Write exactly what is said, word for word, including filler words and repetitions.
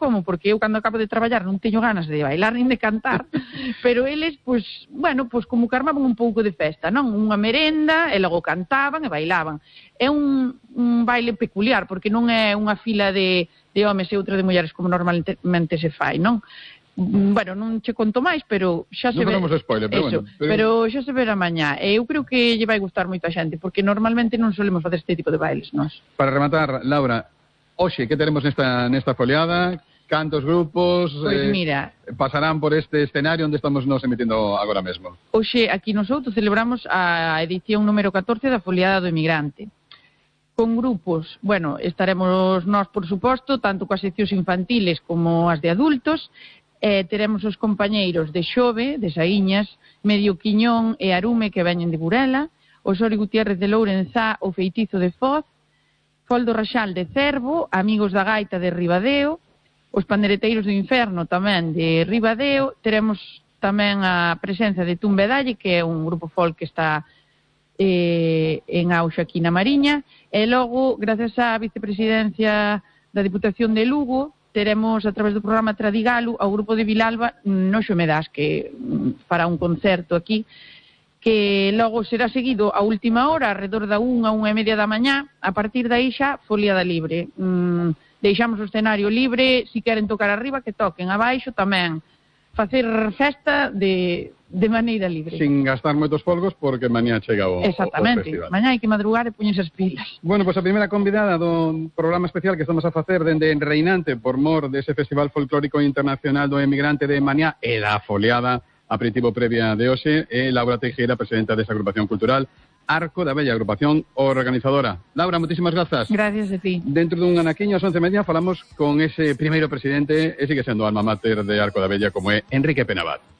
como, porque eu cando acabo de traballar non teño ganas de bailar nin de cantar, pero eles, pois, bueno, pois como que armaban un pouco de festa, non? Unha merenda, e logo cantaban e bailaban. É un, un baile peculiar, porque non é unha fila de, de homes e outra de mulleres como normalmente se fai, non? Bueno, non che conto máis, pero xa se ve... Non falamos spoiler, pero eso, bueno. Pero... pero xa se verá mañá. E eu creo que lle vai gustar moito a xente, porque normalmente non solemos facer este tipo de bailes, nós. Para rematar, Laura, hoxe, que teremos nesta, nesta foliada? Cantos grupos Pois mira, eh, pasarán por este escenario onde estamos nos emitindo agora mesmo? Hoxe, aquí nosotros celebramos a edición número catorce da Foliada do Emigrante. Con grupos, bueno, estaremos nós, por suposto, tanto coas seccións infantiles como as de adultos. Eh, teremos os compañeiros de Xove, de Saíñas, Medio Quiñón e Arume, que veñen de Burela, o Sori Gutiérrez de Lourenzá, o Feitizo de Foz, Foldo Raxal de Cervo, Amigos da Gaita de Ribadeo, os Pandereteiros do Inferno tamén de Ribadeo. Teremos tamén a presenza de Tumbedalle, que é un grupo folk que está eh, en auxe aquí na Mariña, e logo, gracias á vicepresidencia da Diputación de Lugo, teremos a través do programa Tradigalo ao grupo de Vilalba no Xomedás, que fará un concerto aquí, que logo será seguido a última hora, alrededor da unha, unha e media da mañá. A partir dai xa, foliada libre. Mm, deixamos o escenario libre, si queren tocar arriba, que toquen, abaixo tamén. Facer festa de, de maneira libre. Sin gastar moitos folgos, porque mañá chega o, Exactamente. o festival. Mañá hai que madrugar e poñerse as pilas. Bueno, pois pues a primeira convidada do programa especial que estamos a facer dende Reinante por mor dese Festival Folclórico Internacional do Emigrante de mañá e da foliada aperitivo previa de hoxe é Laura Teixeira, presidenta desa agrupación cultural Arco da Bella, agrupación organizadora. Laura, moitísimas grazas. Gracias a ti. Dentro dun anaquiño, ás once e media, falamos con ese primeiro presidente, e sigue sendo alma mater de Arco da Bella, como é Enrique Penavat.